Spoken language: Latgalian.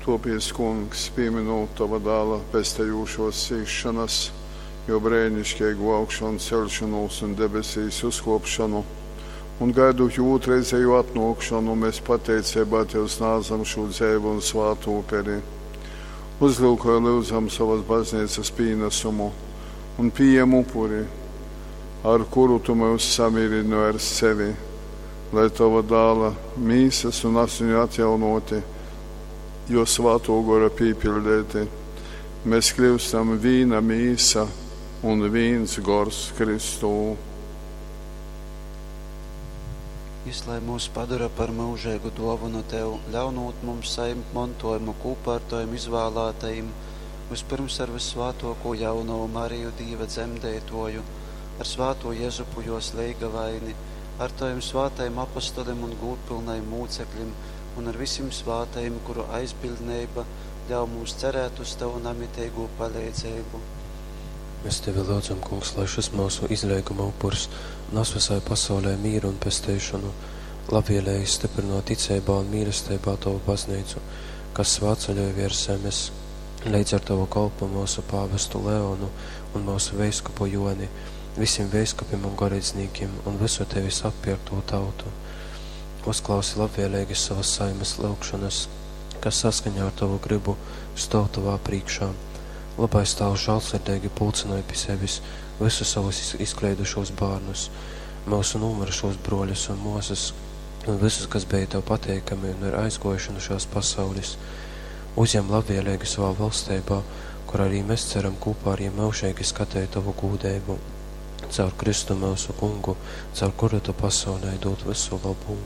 Tōpiec, Kungs, pīmynūt tova Dāla pestejūšōs cīsšonas, jō breiniškeigū augšanceļšonūs un debesīs uzkōpšonu, un gaidūt jō ūtrreizejū atnōkšonu, mes pateiceibā tev snādzam šū dzeivu un svātu uperi. Uzlyukoj, lyudzam, sovas bazneicas pīnasumu un pījem upuri, ar kuru tu myus samīrynoj ar sevi, lai tova Dāla mīsas un asiņu atjaunōti, jō Svātō Gora pīpiļdeiti, mēs kļyustam vīna mīsa un vīns gors Kristū. Jys lai myus padora par myužeigu dōvonu tev, ļaunūt mums sajimt montōjumu kūpā ar tovim izvālātajim, vyspyrms ar vyssvātōkū jaunovu Mariju, Dīva dzemdeitōju, ar svātū Jezupu, jōs leigavaini, ar tovim svātajim apostolim un gūdpylnajim mūceklim un ar visim svātajim, kuru aizbiļdneiba ļauj mums cerēt uz tovu namiteigū paleidzeibu. Mēs tevi lyudzam, Kungs, lai šys myusu izleiguma upurs nas vysai pasaulei mīru un pesteišonu. Labvēlīgi stiprinot ticeibā un mīlesteibā tovu bazneicu, kas svētceļoj viers zemes, leidz ar tovu kolpu myusu pāvestu Leonu un myusu veiskupu Joni, visim veiskupim un goreidznīkim un vysu tevis atpierktū tautu. Uzklausi labvēlīgi savas saimes lyugšonas, kas saskaņā ar tovu gribu stōv tovā prīškā. Lobais Tāvs žālsirdeigi pulcynoj pi sevis visus savus izkleidušūs bārnus, myusu nūmyrušūs brōļus un mōsas un visus, kas bija tev pateikami un ir aizgōjuši nu šōs pasaules. Uzjem labvēlīgi savā valsteibā, kur arī mēs ceram kopā ar jiem myužeigi skateit tovu gūdeibu. Caur Kristu myusu Kungu, caur kuru tu pasaulei dūd vysu lobu.